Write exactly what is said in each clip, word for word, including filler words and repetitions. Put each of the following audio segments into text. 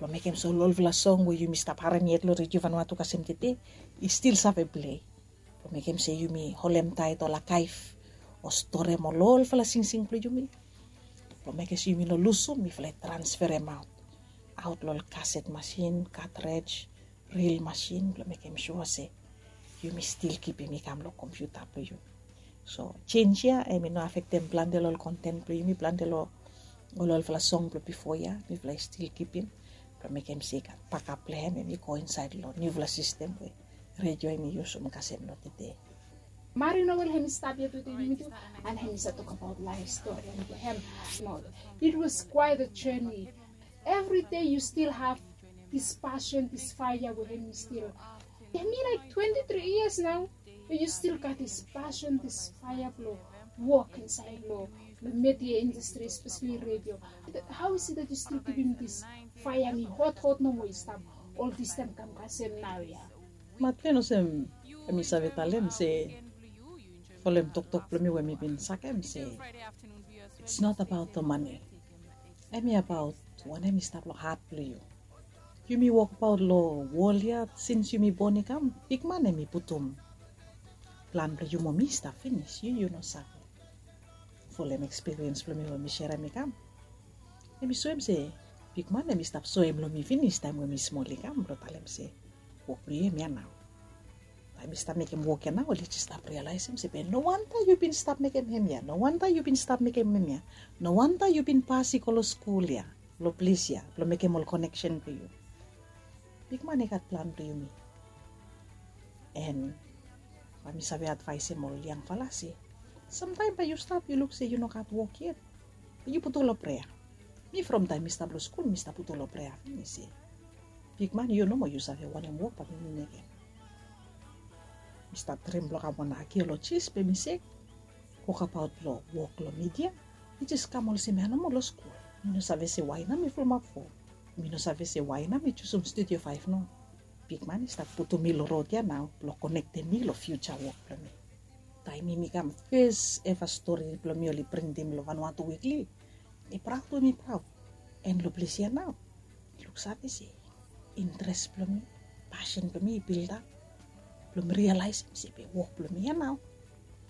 Blong mekem se ol olfala song we yumi stap harem yet long redio Vanuatu kasem tete i stil save plei. Blong mekem se yumi holem taet ol akaef o storem ol olfala singsing blong yumi. Blong mekem se yumi no lusum, mifala i transferem aot aot long ol kaset masin, katrej, ril masin blong mekem sua se yumi stil kipim i kam long kompiuta blong yumi. So sens ya em i no afektem plante long ol konten blong yumi, plante long ol olfala song blong bifo ya mifala i stil kipim blong mekem se i gat bakap blong em em i go insaed long niufala sistem we redio em i yusum kasem long tede. Mari Noel hem i stap ya tede yumi tu, and hem i save tokabaot laef stori blong hem. It was quite a journey. Every day you still have this passion, this fire we hem i stil. Hem i like twenty-three years now, but you still got this passion, this fire blong wok insaed long media industry, especially radio. How is it that you still giving this fire mi hot hot nomo i stap ol this time kam kasem nao ya? Maten olsem em i save talem se folem toktok blong mi we mi bin sakem se it's not about the money. Em i abaot wanem i stap long hat blong yu. Yumi wokbaot long wol ya sins yumi bon i kam, bigman em i putum plan blong yu mo mi i stap finis, yu yu no save. Folem ekspiriens blong mi we mi serem i kam, em i soem se bigman em i stap soem long mi finis taem we mi smol i kam blong talem se wok blong yu em ya nao. Taem mi stap mekem wok ya nao oli jes stap rialaesem se be no wanta yu bin stap mekem hemia, no wanta yu bin stap mekem hemia, no wanta yu bin pas i go long skul ya, long ples ya blong mekem ol koneksen blong yu. Bigman i gat plan blong yumi. En bae mi save advaesem ol yangfala se samtaem bae yu stap yu luk se yu no gat wok yet, be yu putum long prea. Mi from taem mi stap long skul mi stap putum long prea finis se bigman yu nomo yu save wanem wok bae mi mekem. Mi stap drim blong kam wan akiolojis be mi se wokabaot blong wok long midia i jes kam olsem ya nomo long skul. Mi no save se wae nao mi fulumap fo. Mi no save se wae nao mi jusum studio faef nao. Bigman i stap putum mi long rod ya nao blong konektem mi long fiuja wok blong mi. Taem mi kam fes eva stori blong mi oli printim long Vanuatu Wikli, mi praod we mi praod. En long ples ya nao mi luksave se interes blong mi, pasen blong mi i bilda blong mi rialaesem se be wok blong mi ya nao.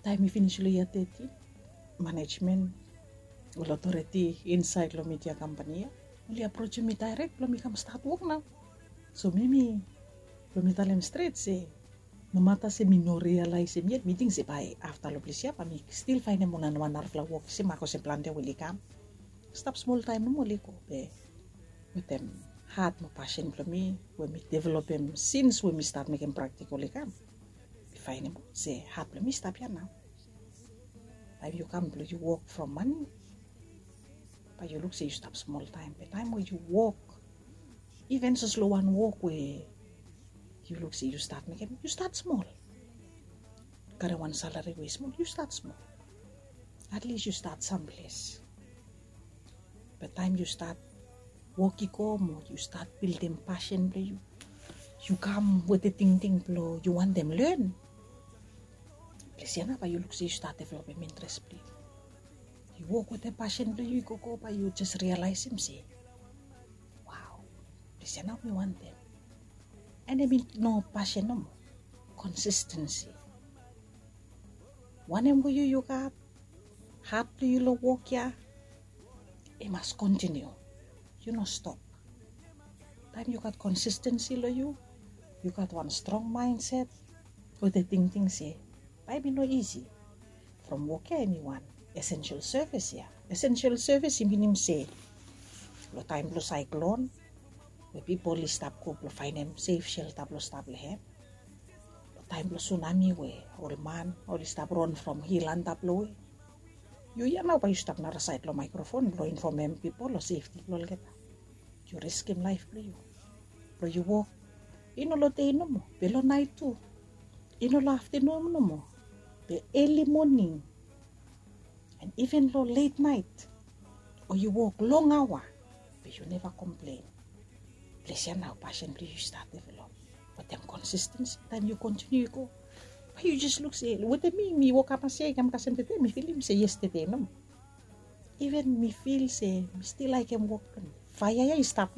Taem mi finis long yia tetin, manejmen, ol otoreti insaed long midia kampani ya oli aprosem mi daerek blong mi kam stat wok nao. So mi mi blong mi talem stret se nomata se mi no rialaesem yet mi ting se bae afta long ples ya bae mi stil faenem wan wan narafala wok se mak olsem plante we oli kam. Stap smol taem nomo oli go be wetem hat mo pasen blong mi we mi developem sins we mi stat mekem praktikol i kam, mi faenem se hat blong mi i stap ya nao. Taem yu kam blong yu wok from mane bae yu luk se yu stap smol taem be taem we yu wok iven sos long wan wok we yu luk se yu stat mekem yu stat smol. Karem wan salari we i smol yu stat smol. Atlis yu stat samples. Be taem yu stat wok i go mo yu stat bildim pasen blong yu, yu kam wetem tingting blong yu wantem len. Ples ya nao bae yu luk se yu stat developem interes blong yu. Yu wok wetem pasen blong yu i gogo bae yu jes rialaesem se wao, ples ya nao mi wantem. En em i no pasen nomo, konsistensi. Wanem we yu yu gat hat blong yu long wok ya i mas kontiniu. Yu no stop. Taem yu gat konsistensi long yu, yu gat wan strong maenset wetem tingting se bae mi no isi. From wok ya em i wan esensel sevis ya. Esensel sevis i minim se long taem blong saeklon we pipol i stap go blong faenem sef selta blong stap long hem, long taem blong sunami we ol man oli stap ron from hil antap long we yu ya nao bae yu stap narasaed long maekrofon blong infomem pipol long sefti blong olgeta. Yu riskim laef blong yu blong yu wok i no long dei nomo be long naet tu, i no long aftanun nomo be eli moning, en iven long let naet o yu wok long aoa be yu neva komplen. Ples ya nao pasen blong yu i stat develop wetem konsistensi. Taem yu kontiniu i go bae yu jes luk se wetem mi mi wokap masia i kam kasem tede mi filim se yestede nomo. Iven mi fil se mi stil laekem wok blong mi. Faea ya i stap